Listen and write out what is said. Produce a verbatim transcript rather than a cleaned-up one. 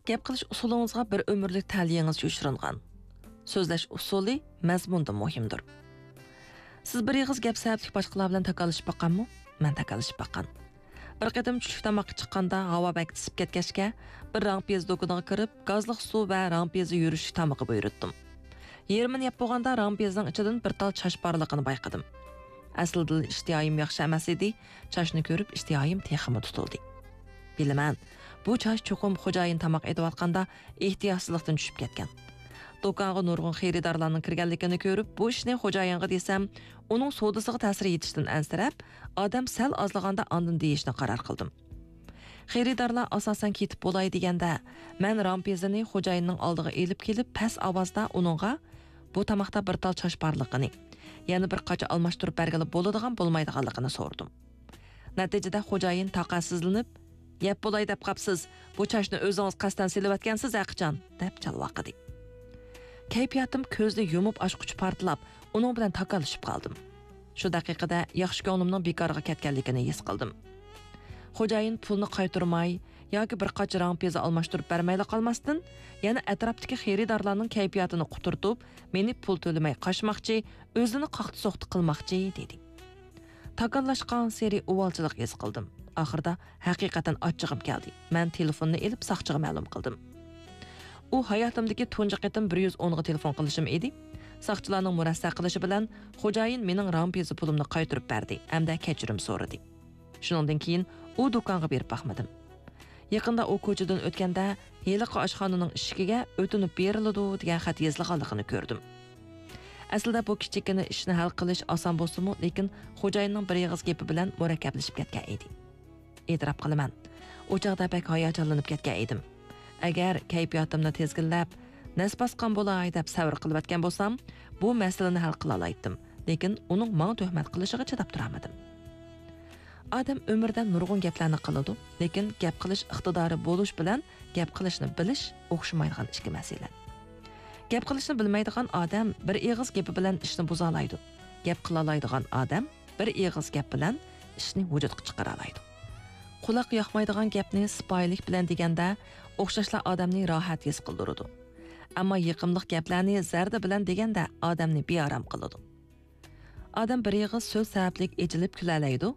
گەپ قىلىش ئۇسۇلىڭىزغا بىر ئۆمۈرلۈك تەلىيىڭىز يوشۇرۇنغان. سۆزلەش ئۇسۇلى مەزمۇندىن مۇھىمدۇر. سىز بىر ئېغىز گەپ سەۋەبلىك باشقىلار بىلەن تاكاللىشىپ باققانمۇ؟ مەن تاكاللىشىپ باققان. بىر قېتىم چۈشلۈك تاماققا چىققاندا ھاۋا بەك ئىسسىپ كەتكەچكە، بىر راڭپىيەزە دۇكىنىغا كىرىپ، گازلىق سۇ ۋە راڭپىيەزە يۈرۈشلۈك تامىقى بۇيرۇتتۇم. يېرىمىنى يەپ بولغاندا راڭپىيەزىنىڭ ئىچىدىن بىر تال چاچ بارلىقىنى بايقىدىم. ئەسلىدىلا ئىشتىھايىم ياخشى ئەمەس ئىدى، چاچنى كۆرۈپ ئىشتىھايىم تېخىمۇ تۇتۇلدى. بىلىمەن، بۇ چاچ چوقۇم خوجايىن تاماق ئېتىۋاتقاندا ئېھتىياتسىزلىقتىن چۈشۈپ كەتكەن. دۇكانغا نۇرغۇن خېرىدارلارنىڭ كىرگەنلىكىنى كۆرۈپ، بۇ ئىشنى خوجايىنغا دېسەم، ئۇنىڭ سودىسىغا تەسىر يېتىشىدىن ئەنسىرەپ، ئادەم سەل ئازلىغاندا ئاندىن دېيىشنى قارار قىلدىم. خېرىدارلار ئاساسەن كېتىپ بولاي دېگەندە، مەن رامپىزىنى خوجايىننىڭ ئالدىغا ئېلىپ كېلىپ، پەس ئاۋازدا ئۇنىڭغا، «بۇ تاماقتا بىر تال چاچ بارلىقىنى، يەنە بىر قاچا ئالماشتۇرۇپ بەرگىلى بولىدىغان، بولمايدىغانلىقىنى» سورىدىم. نەتىجىدە خوجايىن تاقەتسىزلىنىپ، «يەپ بولاي دەپ قاپسىز، بۇ چاچنى ئۆزىڭىز قەستەن سېلىۋەتكەنسىز ھەقىچان» دەپ چالۋاقىدى. كەيپىياتىم كۆزنى يۇمۇپ ئاچقۇچە پارتلاپ، ئۇنىڭ بىلەن تاكاللىشىپ قالدىم. شۇ دەقىقىدە ياخشى كۆڭلۈمنىڭ بىكارغا كەتكەنلىكىنى ھېس قىلدىم. خوجايىن پۇلنى قايتۇرماي ياكى بىر قاچا راڭپىزا ئالماشتۇرۇپ بەرمەيلا قالماستىن، يەنە ئەتراپتىكى خېرىدارلارنىڭ كەيپىياتىنى قۇترىتىپ، مېنى پۇل تۆلىمەي قاچماقچى، ئۆزىنى قاقتى-سوقتى قىلماقچى، دېدى. تاكاللاشقانسېرى ئۇۋالچىلىق ھېس قىلدىم. ئاخىرىدا ھەقىقەتەن ئاچچىقىم كەلدى. مەن تېلېفوننى ئېلىپ ساقچىغا مەلۇم قىلدىم. ئۇ ھاياتىمدىكى تۇنجى قېتىم بىر يۈز ئونغا تېلېفون قىلىشىم ئىدى. ساقچىلارنىڭ مۇرەسسە قىلىشى بىلەن خوجايىن مېنىڭ رامپىزا پۇلۇمنى قايتۇرۇپ بەردى ھەمدە كەچۈرۈم سورىدى. شۇنىڭدىن كېيىن ئۇ دۇكانغا بېرىپ باقمىدىم. يېقىندا ئۇ كوچىدىن ئۆتكەندە، ھېلىقى ئاشخانىنىڭ ئىشىكىگە «ئۆتۈنۈپ بېرىلىدۇ» دېگەن خەت يېزىلغانلىقىنى كۆردۈم. ئەسلىدە بۇ كىچىككىنە ئىشنى ھەل قىلىش ئاسان بولسىمۇ، لېكىن خوجايىننىڭ بىر ئېغىز گېپى بىلەن مۇرەككەپلىشىپ كەتكەن ئىدى. ئېتىراپ قىلىمەن، ئۇ چاغدا بەك ھاياجانلىنىپ كەتكەن ئىدىم. ئەگەر كەيپىياتىمنى تىزگىنلەپ، نەس باسقان بولاي دەپ سەۋر قىلىۋەتكەن بولسام، بۇ مەسىلىنى ھەل قىلالايتتىم. لېكىن ئۇنىڭ ماڭا تۆھمەت قىلىشىغا چىداپ تۇرالمىدىم. ئادەم ئۆمرىدە نۇرغۇن گەپلەرنى قىلىدۇ، لېكىن گەپ قىلىش ئىقتىدارى بولۇش بىلەن گەپ قىلىشنى بىلىش ئوخشىمايدىغان ئىككى مەسىلە. گەپ قىلىشنى بىلمەيدىغان ئادەم بىر ئېغىز گېپى بىلەن ئىشنى بۇزالايدۇ. گەپ قىلالايدىغان ئادەم بىر ئېغىز گەپ بىلەن ئىشنى ۋۇجۇدقا چىقىرالايدۇ. قۇلاق ياقمايدىغان گەپنى سىپايىلىك بىلەن دېگەندە، ئوخشاشلا ئادەمنى راھەت ھېس قىلدۇرىدۇ. ئەمما يېقىملىق گەپلەرنى زەردە بىلەن دېگەندە، ئادەمنى بىئارام قىلىدۇ. ئادەم بىر ئېغىز سۆز سەۋەبلىك ئېچىلىپ كۈلەلەيدۇ،